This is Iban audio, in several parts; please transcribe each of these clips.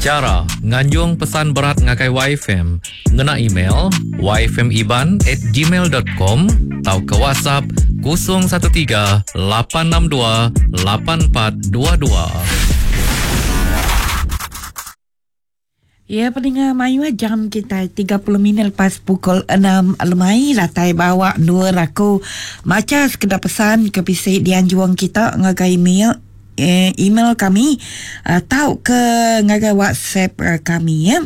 Chara nganjung pesan berat ngagai Waifm ngena email yfmiban@gmail.com tauka WhatsApp 013 862 8422. Ya peninga mayuh jam kitai 30 minit lepas pukul 6 lemai datai bawa endur aku macha sekeda pesan ke bisi dianjung kita ngagai email eh, email kami uh, tauka ngagai WhatsApp uh, kami ya.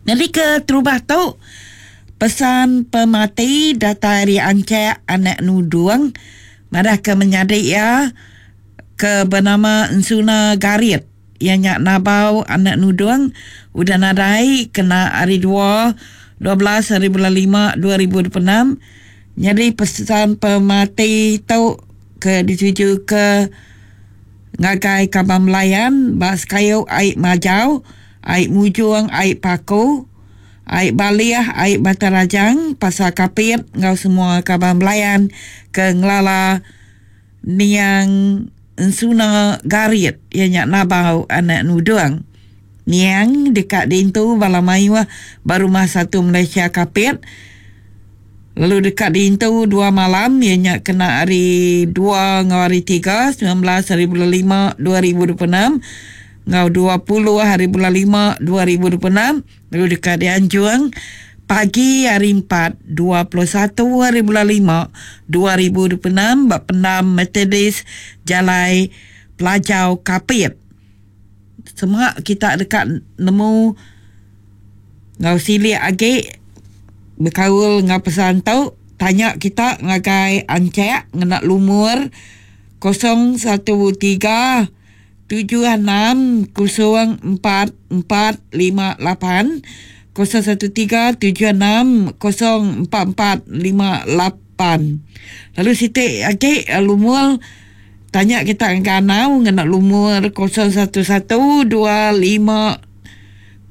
Nyadi ke terubah tu pesan pemati datai ari Anchek anak Nudung madah ke menyadi iya ke benama Ensuna Garit iya nya Nabau anak Nudung udah nadai kena hari dua, 12 hari bulan lima 2026. Nyadi pesan pemati tu ke ditujuka ngagai kaban belayan ba sekayu ai Majau, ai Mujong, ai Paku, ai Balih, ai Batang Rajang, Pasar Kapit enggau semua kaban belayan ke ngelala Niang Ensuna Garit iya nya Nabau anak Nudung. Niang deka diintu bala mayuh ba Rumah Satu Malaysia Kapit lalu deka diintu dua malam iya nya kena hari dua enggau hari tiga, 19 hari bulan lima 2026 enggau 20 hari bulan lima 2026 lalu deka dianjung pagi hari empat, 21 hari bulan lima 2026 ba Pendam Methodist Jalai Pelajau Kapit. Semua kita deka nemu enggau silik agi bekaul enggau pesan tu, tanya kita ngagai Anchek ngena lumur 013 76 04 4 5 8 013 76 04 4 5 8. Lalu siti agi lumur tanya kita ngagai anau ngena lumur 011 2 5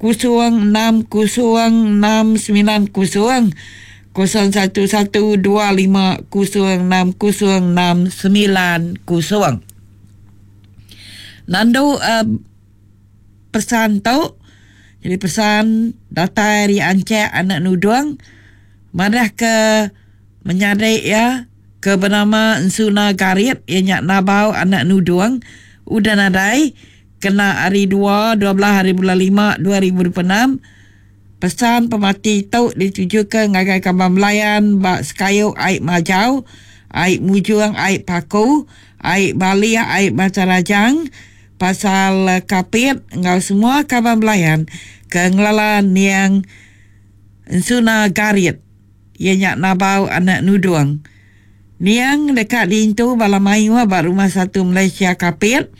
0 6 0 6 9 0 011 2 5 0 6 0 6 9 0. Nandu uh, pesan tu jadi pesan datai ari Anchek anak Nudung madah ke menyadi iya ke benama Ensuna Garit iya nya Nabau anak Nudung udah nadai kena hari dua 12 hari bulan lima 2026. Pesan pemati tu ditujuka ngagai kaban belayan ba sekayu ai Majau, ai Mujung, ai Paku, ai Balih, ai Batang Rajang, pasal Kapit enggau semua kaban belayan ke ngelala niang Ensuna Garit iya nya Nabau anak Nudung. Niang deka diintu bala mayuh ba Rumah Satu Malaysia Kapit.